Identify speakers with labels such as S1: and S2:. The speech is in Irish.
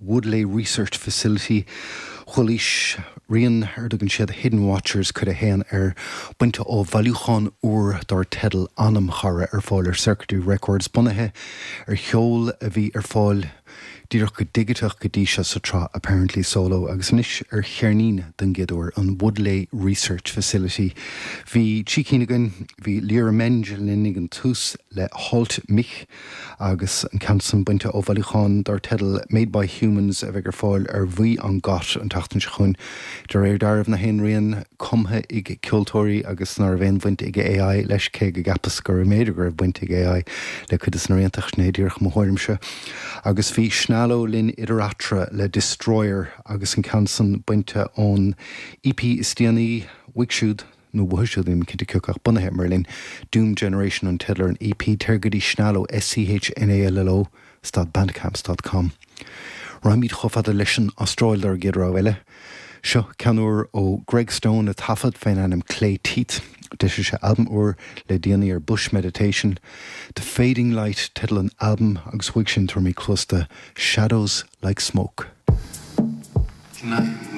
S1: Woodleigh Research Facility. Chualaís rian ar a dtugann siad Hidden Watchers cuid a haon air, bainte ó bhailiúchán úr dar teideal Anam Chara ar fáil ar Circuitry Records, bunaithe ar cheol a bhí ar fáil díreach go digiteach go dtí seo sa tsraith Apparently Solo agus anois ar cheirnín den gcéad uair, an Woodleigh Research Facility. Bhí trí cinn againn, bhí Lyra Menge linn ag an tús le Halt Mich agus an ceann san bainte ó bhailiúchán dar teideal Made by Humans a bheidh ar fáil ar Bhuí an Got an tseachtain seo chugainn. De réir dealraimh nach aon rian cumtha ag ceoltóirí agus ná raibh aon bhaint ag AI leis, cé go gceapas go mb'fhéidir go raibh baint ag AI le cuid de na rianta, sin é díreach mo thuairimse. Agus bhí Schnallo linn idir eatarthu le Destroyer agus an ceann san bainte ón EP is déanaí uaidh siúd, nó uathu siúd, nílim cinnte cé acu ach bunaithe i mBerlin, Doom Generation an teideal ar an EP. Téir go dtí Schnallo, S-C-H-N-A-L-L-O, stad bandcamp stad com. Raghaimid chomh fada leis an Astráil dár gcéad rogha eile. Seo ceann úr ó Greg Stone a taifead fén ainm Clay Teeth. D'eisigh sé albam úr le déanaí ar Bush Meditation. The Fading Light teideal an albaim agus uaidh sin tabharfaimid cluas do Shadows Like Smoke.
S2: Tonight.